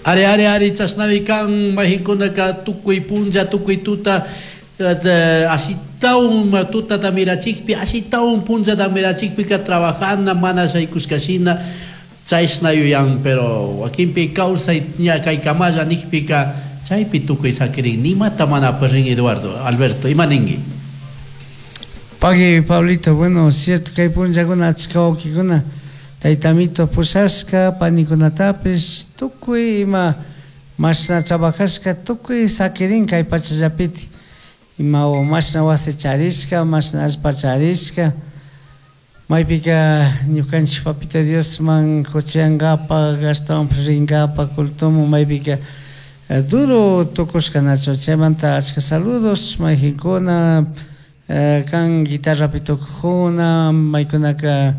Ari, ari, ari, chashnami kan mayqinkunaka tukuy punlla, tukuy tuta ashitawan tutata mirachikpi, ashitawan punllata mirachikpika trabajana mana shaykushkashina chashna yuyan, pero wakinpi kawsay ña kaykamalla nijpika chaypi tukuy sakirin, nimata mana aparin. Eduardo, Alberto, ima ningui? Pagui, Pablito. Bueno, cierto, kay punllakuna achka wawkikuna taytamito pushashka panikunatapish tukuy ima mashna trabajashka tukuy sakirin kay pachallapiti, ima mashna wasi charishka, mashna allpa charishka. Maypika ñukanchik Papito Diosman kuchiyankapak, ashtawanpish rinkapak cultoman maypika duro tukushka, nachu? Chaymanta achka saludos mayqinkuna kan guitarrapi tocajuna, maykunaka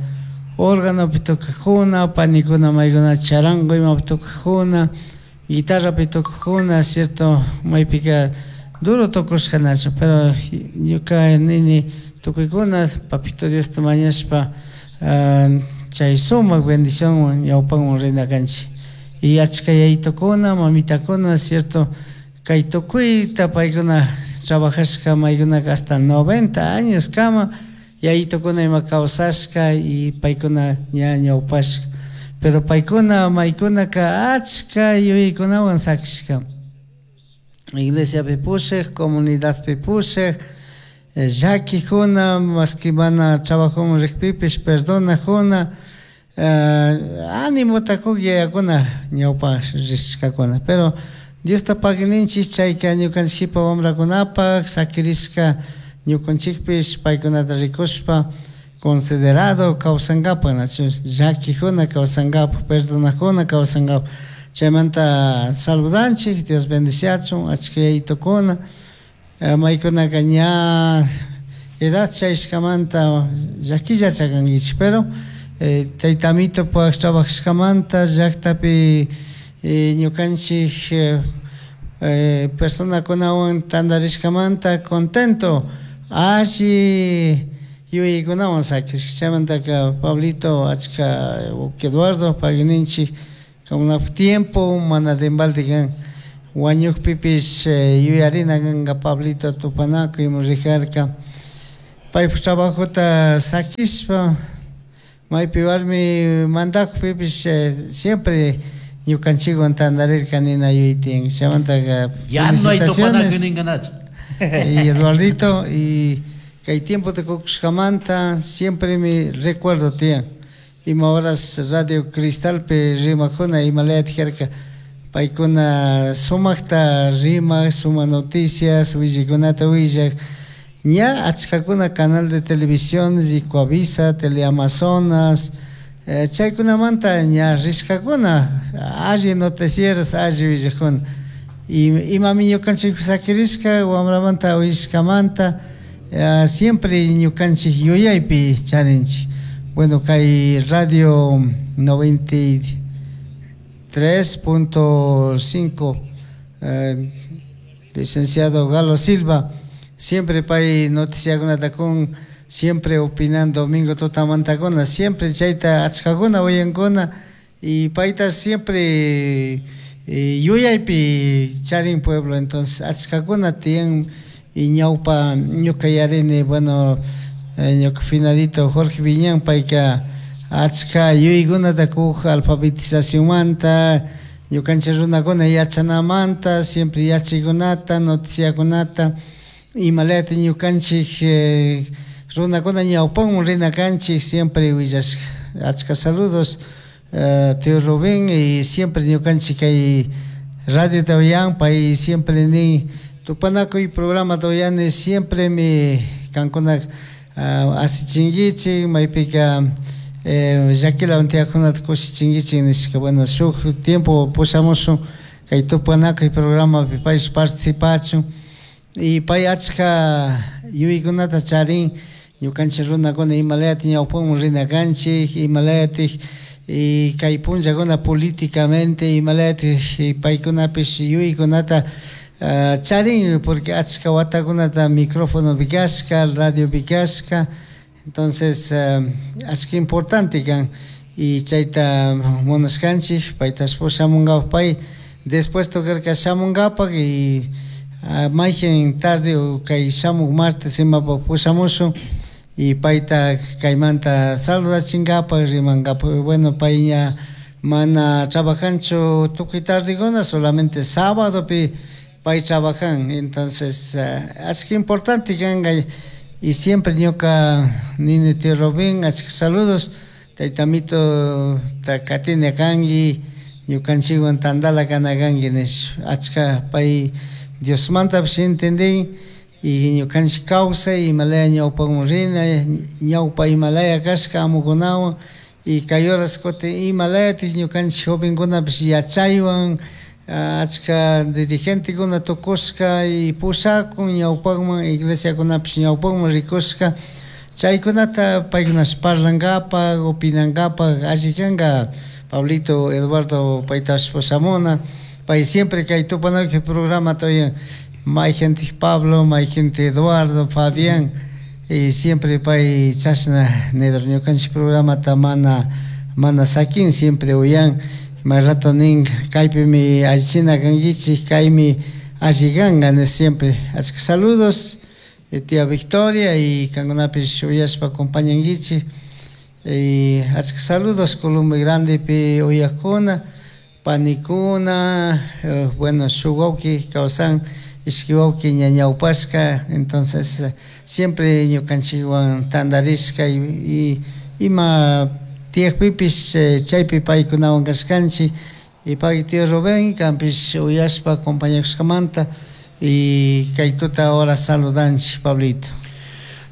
órganopi tocajuna, panikuna maykuna charango imapi tocajuna, guitarrapi tocajuna, cierto, maypika duro tukushka, nachu? Pero ñuka nini, tukuykuna Papito Diosta mañashpa chay sumak bendicionwan ñawpanman rina kanchik. Y achka yayitukuna, mamitakuna, cierto, kay tukuyta paykuna trabajashka, maykunaka hasta 90 años kama yayitukuna ima kawsashka y paykuna ña ñawpashka, pero paykuna maykunaka achka yuyaykunawan sakishka, iglesiapi pushak, comunidadpi pushak, llakikuna, maski mana trabajoman rikpipish perdonakuna, animota kuk yayakuna ñawpa rishkakuna. Pero Diosta pagui ninchik, chayka ñukanchik jipa wambrakunapak sakirishka, ñukanchikpish paykunata rikushpa considerado kawsankapak, nachu? Llakikuna kawsankapak, perdonakuna kawsankapak. Chaymanta saludanchik, Dios bendiciachun achka yayitukuna maykunaka ña edad chayashkamanta llakilla chakankichik, pero tayta amitopak trabajashkamanta llaktapi ñukanchik personakunawan tantarishkamanta contento, alli yuyaykunawan sakishka. Chaymantaka, Pablito, achka Eduardo pagui ninchik, kankunapak tiempo mana de embalde kan. Wañukpipish yuyarina kanka Pablito tupanakuy rijarka paypak trabajota sakishpa, maypi warmi mandakpipish siempre ñukanchikwan tantarirka nina yuyay tiyan. Chaymantaka Ya no hay tupanakuy ninkanachu. Y Eduardito, y kay tiempota kukushkamanta siempre mi recuerdo tiyan ima horas Radio Cristalpi rimakuna, imalayata karka paykuna sumakta rimak, sumak noticias willaykunata willak. Ña achkakuna canal de televisión Ricoavisa, Teleamazonas, chaykunamanta ña rishkakuna, alli noticieros, alli willakuna. Y imami ñukanchikpi sakirishka wambramanta uyashkamanta siempre ñukanchik yuyaypi charinchik. Bueno, kay radio 93.5, licenciado Galo Silva siempre pay noticiakunata kun, siempre opinando domingo tutamantakuna, siempre chayta achkakuna uyankuna y payta siempre yuyaypi charin pueblo. Entonces achkakuna tiyan y ñawpa ñuka yarini, bueno, ñuka finadito Jorge Viñán, payka achka yuyaykunata kuk alfabetizacionmanta, ñukanchik runakuna yachanamanta, siempre yachaykunata, noticiakunata, imalayata ñukanchik runakuna ñawpanman rina kanchik, siempre willashka. Achka saludos, tío Rubén, y siempre ñukanchik kay radiota uyan, pay siempre nin tupanakuy programata uyani, siempre mi kankuna asichinkichik, maypika llakilawan tiyakkunata kushichinkichik nishka. Bueno, shuk tiempo pushamushun kay tupanakuy programapi paysh participachun y pay achka yuyaykunata charin ñukanchik runakuna imalayata ñawpanman rina kanchik, imalayatik y kay punllakuna políticamente imalayatik paykunapish yuyaykunata charin, porque achka watakunata microfonopi kashka, radiopi kashka. Entonces achka importante kan y chayta munashkanchik paytash pushamunkapak pay. Dispuesto karka shamunkapak y mayqin tarde o kay shamuk martes imapak pushamushun y payta kaymanta saludachinkapak, rimankapak. Bueno, pay ña mana trabajanchu tukuy tardekuna, solamente sábadopi pay trabajan. Entonces achka importante kanka y siempre ñuka nini, tío Rubén, achka saludos, taytamito ta katina kanki, ñukanchikwan tantala kana kanki nish. Achka pay Diosmantapish entendin y ñukanchik kawsay imalaya ñawpakman rina, ñawpa imalaya kashka amukunawan y kay horas kutin imalayatik ñukanchik jovenkunapish yachaywan achka dirigentekuna tukushka y pushakun ñawpakman, iglesiakunapish ñawpakman rikushka. Chaykunata paykunash parlankapak, opinankapak alli kanka Pablito Eduardo paytash pushamuna. Pay siempre kay Tupanakuy programata uyan, mayqintik Pablo, mayqintik Eduardo, Fabián, y siempre pay chashna nidor ñukanchik programata mana sakin, siempre uyan. May rato nin kaypimi allichina kankichik, kaymi alli kanka nish siempre. Achka saludos, tía Victoria, y kankunapish uyashpa acompañankichik. Y achka saludos Columbia Grandepi uyakuna, panikuna, bueno, shuk wawki kawsan, ishki wawki ña ñawpashka, entonces siempre ñukanchikwan tantarishka y ima tiyakpipish chaypi paykunawan kashkanchik. Y pay tío Rubén kanpish uyashpa acompañakushkamanta y kay tuta ahora saludanchik, Pablito.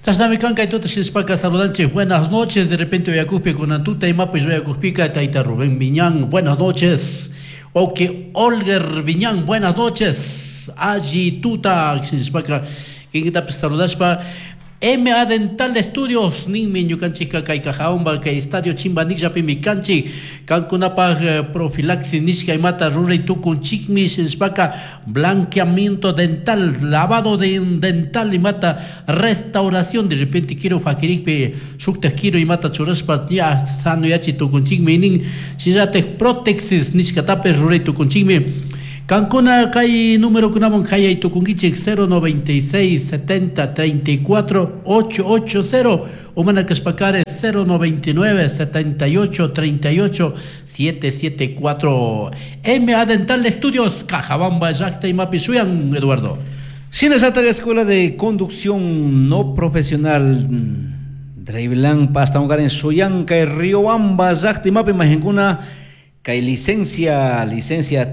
Chashnami kan kay tuta shinashpaka saludanchik. Buenas noches, de repente uyakukpi kunan tuta imapish uyakukpika tayta Rubén Viñán, buenas noches. Wawki Olger Viñán, buenas noches. Alli tuta shinashpaka kinkitapish saludashpa. MA Dental Studios ninmi ñukanchikka kay Cajaomba kay Estadio Chimbanillapimi kanchik. Kankunapaj profilaxis nishka imata ruray tukunchikmi shinashpaka blanqueamiento dental, lavado de dental imata restauración, de repente quiero fakirikpi shuktak quiero imata churashpa ya sanoyachi tukunchikmi nin. Shinallatak prótesis nishkatapish ruray tukunchikmi. Kankuna kay número kunaman kayay tukunkichik 096 70 34 880 o mana kashpakare 099 78 38 774. MA Dental Studios, Cajabamba, llaqta imapi shuyan, Eduardo. Shinallata Escuela de Conducción No Profesional Drivelan Pastaungarin shuyan kay Riobamba llaqta imapi mahinkuna kay licencia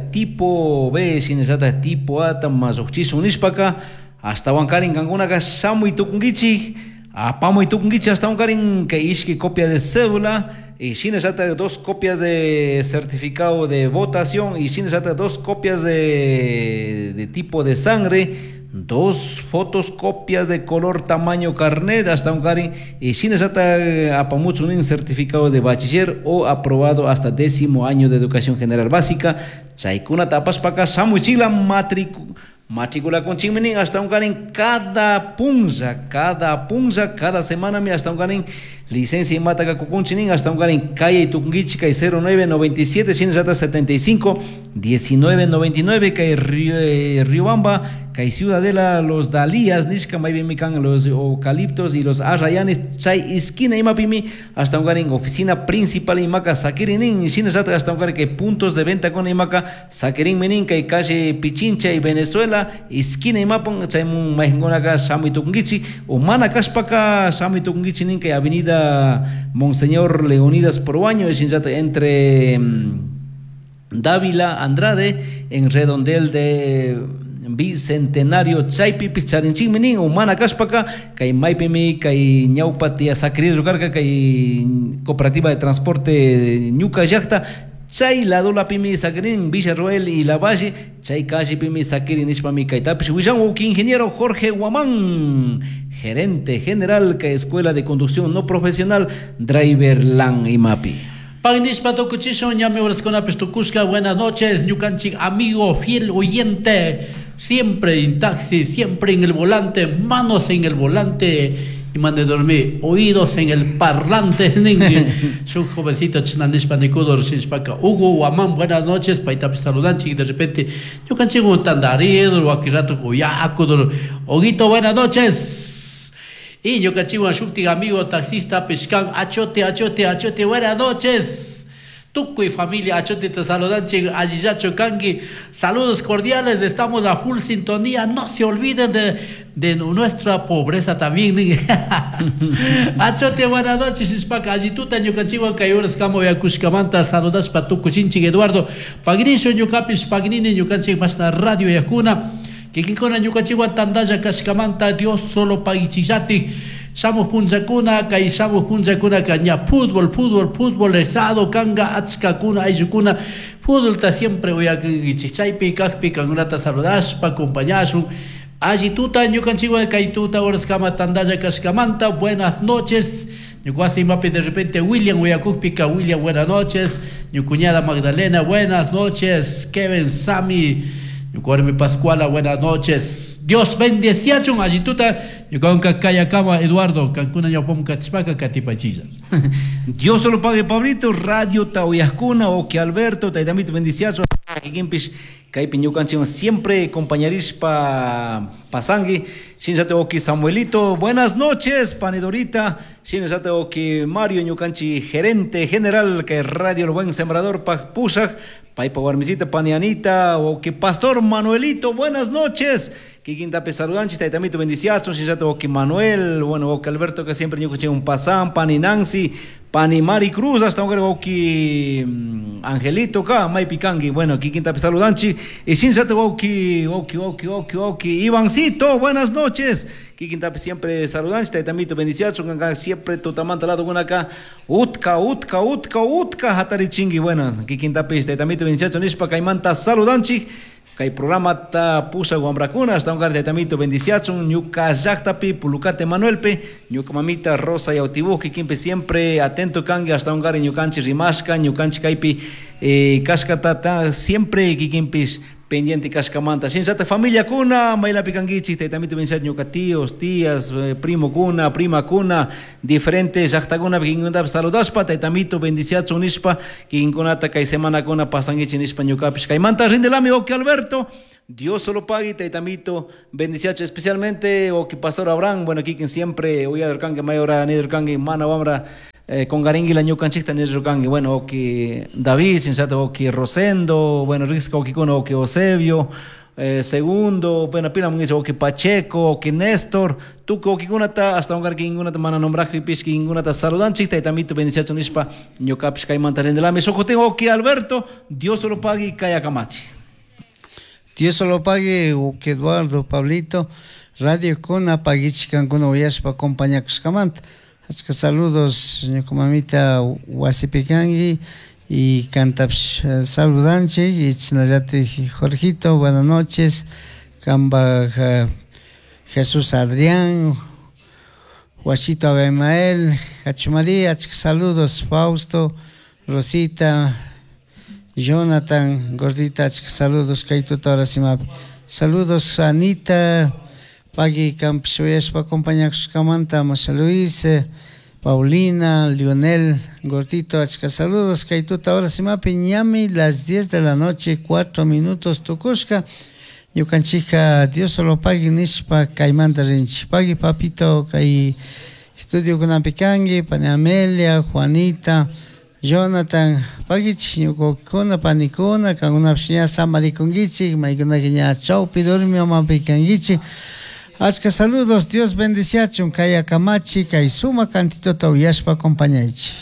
tipo B, shinallata tipo A tamasukchisun nishpaka ashtawankarin kankunaka shamuy tukunkichik, apamuy tukunkichik ashtawankarin kay ishki copia de cédula y shinallata 2 copias de certificado de votación y shinallata 2 copias de tipo de sangre, 2 fotos copias de color tamaño carnet hasta un cari y shinallata apamucho un certificado de bachiller o aprobado hasta 10º año de educación general básica. Chaykuna tapashpaka shamuchila matrícula con chiminin hasta un carin cada punza, cada punza, cada semana mi hasta un carin licencia y mataca cucunchinin hasta un carin calle y tucunguichi calle cero nueve noventa y siete, shinallata setenta y cinco, diecinueve noventa y nueve, calle Riobamba, calle Ciudadela, los Dalías, nishka maybimican, los eucaliptos y los arrayanes, chay esquina imapimi, hasta un carin oficina principal imaca saquirinin, shinallata hasta un carin que puntos de venta con imaca saquirin minin, calle calle Pichincha y Venezuela, esquina imapon, chay mun mahingonaca shamuy tucunguichi, o mana kashpaka shamuy tucunguichi nin, que avenida Monseñor Leonidas Proaño, shinallata entre Dávila Andrade, en redondel de Bicentenario chaypi picharinchikmi nin, umana kashpaka kay maypimi kay ñawpa tiya Sacrido karka kay cooperativa de transporte ñuka llaqta chay ladolapimi sakirin Villarroel y Lavalle chay callipimi sakirin nishpami kaytapish willan uki ingeniero Jorge Guamán, gerente general kay Escuela de Conducción No Profesional Driverland imapi. Pagnishpa tukuchishun, ñami horaskunapish tukushka. Buenas noches, ñukanchik amigo fiel oyente, siempre en taxi, siempre en el volante, manos en el volante. Imane dormi oídos en el parlante ninki. Shuk jovencito chashna nishpa nikudur shinashpaka Hugo Guamán, buenas noches, paytapish saludanchik de repente ñukanchikwan tandaridur wakin rato uyakudur. Huguito, buenas noches. Y ñukanchikwan shuktik amigo taxista kan achote, achote, achote, buenas noches. Tukuy familia achote te saludanchik allillachu kanki. Saludos cordiales, estamos a full sintonía. No se olviden de nuestra pobreza también. Achote, buenas noches. Nishpaka allituta ñukanchikwan kay horas kama uyakushkamanta saludashpa tukuchinchik Eduardo. Pagrisho ñukapish pagnini ñukanchik mashna radio yakuna. Kikinkuna ñukanchikwan tandalla kashkamanta Dios solo pagichillatik. Shamuj punllakuna, kay shamuj punllakunaka ña fútbol, fútbol, fútbol, esado kanga, achkakuna, ayllukuna, fútbolta siempre uyakankichik. Chaypi kajpi kankunata saludashpa, acompañashun. Alli tuta ñukanchikwan kay tuta horaskama tandalla kashkamanta. Buenas noches. Ñuka imapi de repente William uyakukpika, William, buenas noches. Mi cuñada Magdalena, buenas noches. Kevin, Sami, ñuka warmi Pascuala, buenas noches. Dios bendeciachun allituta ñukanka kayakama Eduardo kankuna ñawpamun katishpaka katipachilla. Dios solo pague Pablito, Radio Tauyascuna, Oki Alberto, taytamito bendiciazo, kikinpish kaypi ñukanchikwan siempre compañerispa pasangui, shinallate Oki Samuelito, buenas noches, panidorita, shinallate Oki Mario ñukanchi gerente general que Radio El Buen Sembrador pa pushaj, paypa warmisita panianita, Oki Pastor Manuelito, buenas noches. Kikintapi saludanchik, taytamito bendiciazo, shinallate Oki Manuel, bueno, Oki Alberto que siempre ñukanchik un pasan, pani Nancy, pani Mari Cruz, hasta un Oki Angelito ka, maypi kanki, bueno, kikintapi saludanchik, y shinallate Oki, Oki, Oki, Oki, Oki, Ivancito, buenas noches. Kikintapi siempre saludanchik, taytamito bendiciazo, kanka siempre tutamanta lado acá, utka, utka, utka, utka, hatarichingi, bueno, kikintapi taytamito bendiciazo, nishpa kaymanta saludanchik. Kay programa ta pusa wamrakuna hasta un taytamito bendiciachun ñuka llaqtapi Pulucate Manuelpe ñuka mamita Rosa Yautibuj kikinpi siempre atento kanki hasta un ñukanchik rimashka ñukanchik kaypi kashkata siempre kikinpis pendiente kashkamanta shinallata familia kuna maylapi kankichik taytamito bendiciachun ñuka tíos, tías, primo kuna, prima kuna diferentes llaqtakuna kikinkunatapi saludashpa taytamito bendiciachun nishpa kikinkunata kay semanakuna pasankichik nishpa ñukapish kaymanta rindelami Oki Alberto Dios solo pague taytamito bendiciacho especialmente Oki Pastor Abraham, bueno kikin siempre uyadurkanki mayora nidurkanki mana wamra congaringuila ñukanchikta nirrukanki, bueno, Oki David, shinallata Oki Rosendo, bueno, Risca Oki kuna, Oki Eusebio, segundo, bueno, pila mungicha Oki Pacheco, Oki Néstor, tukuy okikunata hasta ungar kikinkunata mana nombrajpipish kikinkunata saludanchik, taytamito bendiciacho nishpa ñukapish kaymanta rindelami. Shukutin Oki Alberto, Dios solo pague kayakamachi. Dios solo pague Oki Eduardo, Pablito, Radio Kuna pagichik kankuna uyashpa acompañakushkamanta. Achka saludos ñuka mamita wasipi kanki y kantapish saludanchik y chashnallatik Jorgito, buenas noches, kanpak Jesús Adrián, Huachito Abimael, Hachumaría, achka saludos, Fausto, Rosita, Jonathan, Gordita, achka saludos, kay tuta hora simapi. Saludos Anita, pagui kampish uyashpa acompañakushkamanta, Masha Luis, Paulina, Lionel, Gordito, achka saludos, kay tuta hora simapi, ñami, las 10 de la noche, 4 minutos tukushka, ñukanchika Dios solo pagui nishpa kaymanta rinchik. Pagui papito, kay estudio kunapi kanki, pani Amelia, Juanita, Jonathan, pagichik ñukukuna, panikuna, kankunapish ña samarikunkichik, maykunaka ña chawpi durmimapi kankichik. Achka saludos, Dios bendiciachun, kay akamachi, kay suma cantitota uyashpa acompañaychik.